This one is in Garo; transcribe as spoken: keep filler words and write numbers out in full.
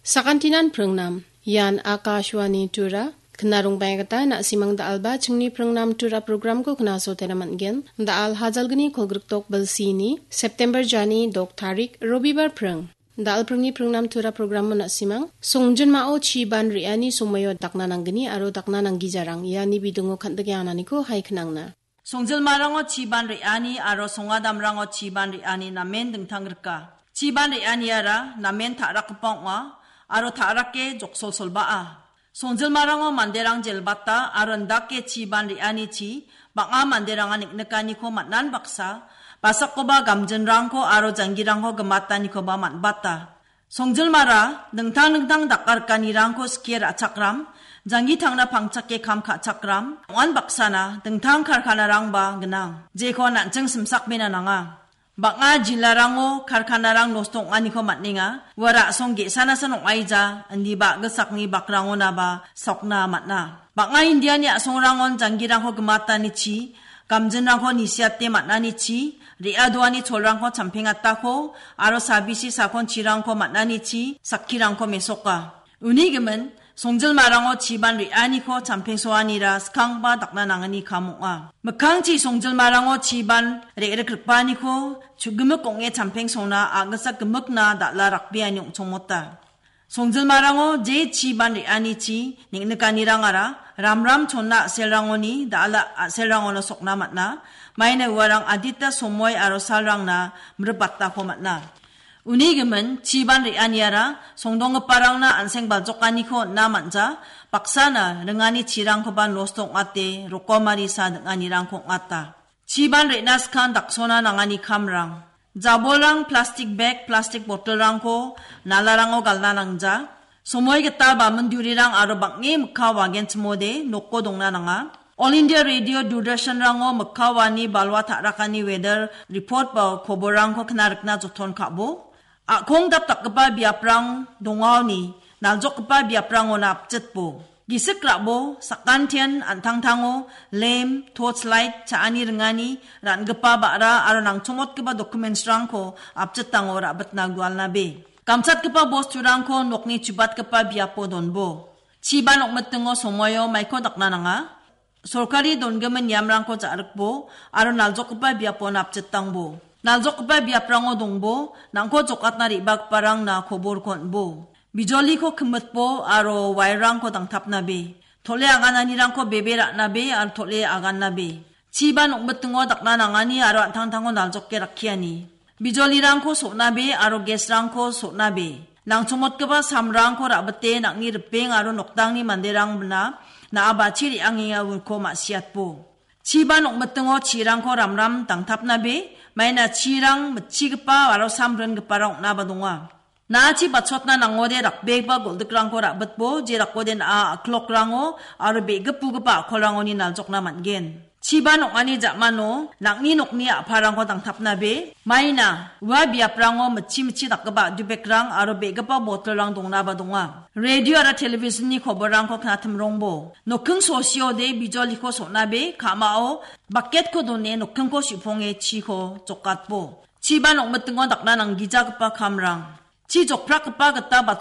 Sakantinan pringnam. Ian Akashvani Tura. Kna rongbeng gita na·simang da·alba chingni pringnam Tura programko knaso tena man·gen. Da·al hajalgni kolgrikdok bilsini September jani dok tarik Robibar pring. Da·al pringni pringnam Tura programo na·simang songjinmao chiban re·ani somoio dakna nanggni aro dakna nanggijarang iani bidingo kan·dike ananiko hai knangna. Songjilmarango chiban re·ani aro songadamrango chiban re·ani namen dingtang rika. Chiban re·aniara namen ta·rakgipa ong·a aro ta·rake joksolsolbaa. Songjilmarango manderang jelbata aro indake chiban re·anichi bang·a manderanga niknikaniko man·an baksa, basakoba gamjinrangko aro janggirangko gimatanikoba man·bata. Songjilmara dingtang dingtang dakarikanirangko skie ra·chakram, janggi tangna pangchake kam ka·chakram, ong·an baksana dingtang karkanarangba gnang, jeko an·ching simsakbena nanga. Bang·a jilarango karkanarang nosto ong·aniko man·enga, ua ra·song ge·sanasan ong·aija, indiba a·gisakni bakrangonaba sokna man·a. Bang·a Indiani a·songrangon janggirangko gimatanichi, gamjinrangko nisiate man·anichi, re·adoani cholrangko champengatako, aro sabisi sakonchirangko man·anichi, sakkirangko mesoka. Uni gimin, songjilmarango chiban re·aniko champengsoanira skangba dakna nangani kam ong·a. Mikkangchi songjilmarango chiban re·rikripaniko chugimik ong·e champengsona a·gisa gimikna dal·a rakbeani ong·chongmota. Songjilmarango je chiban re·anichi neng·nikanirangara ramram chonna a·selrangoni dal·a a·selrangono sokna man·a. Maina uarang adita somoi aro salrangna mribatako man·a. Uni gimin, chiban re·aniara songdonggiparangna an·seng baljokaniko on·na man·ja, baksana ringani chirangkoba nosto ong·ate, rokomari sa ding·anirangko ong·ata. Chiban re·na skang daksona nangani kamrang. Jabolrang plastik bag, plastik botolrangko nalarango galna nangja. Somoi gita bamindurirang aro bang·e mikka wagenchimode noko dongna nanga. All India Radio Doordarshanrango mikka wani balwa ta·rakani weather report ba koborrangko kna rikna joton ka·bo. A·kong dapdakgipa biaprang dongaoni naljokgipa biaprangona apjitbo. Gisik ra·bo, sakantian an·tangtango lem, torch light, cha·ani ringani, ra·gipa ba·ra aro nangchongmotgipa documentsrangko apjitango ra·bitna gualnabe. Gamchatgipa bosturangko nokni chubatgipa biapo donbo. Chiban ong·mitingo somoio maiko dakna nanga. Sorkari dongimin niamrangko ja·rikbo aro naljokgipa biapo napjitangbo. Naljokgipa biaprango dongbo, nangko jokatna re·bagiparangna koborko on·bo. Bijoliko kimitbo aro wairrangko dangtapnabe. Tole agananirangko bebe ra·nabe aro tole agannabe. Chiban ong·mitingo dakna nangani aro an·tangtango naljoke rakkiani. Bijolirangko so·nabe aro gesrangko so·nabe. Nangchongmotgipa samrangko ra·bite nang·ni ripeng aro noktangni manderangna na·a bachi re·angenga uko ma·siatbo. Chiban ong·mitingo chirangko ramram dangtapnabe, maina chirang mitchigipa aro samringiparang ong·naba donga. Na·achi bachotna nangode rakbegipa goldikrangko ra·bitbo, je rakode na·a a·klokrango aro be·gipugipa a·kolrangoni naljokna man·gen. Chiban ong·ani ja·mano nang·ni nokni a·parangko dangtapnabe, maina ua biaprango mitchi mitchi dakgipa a·dubekrang aro be·gipa botolrang dongnaba donga. Radio aro television-ni koborrangko knatimrongbo. Nokking sosiode bijoliko so·nabe, ka·mao baketko done nokkingko su·ponge chiko jokatbo. Chiban ong·mitingo dakna nanggijagipa kamrang. Chi jokprakgipa gita bachot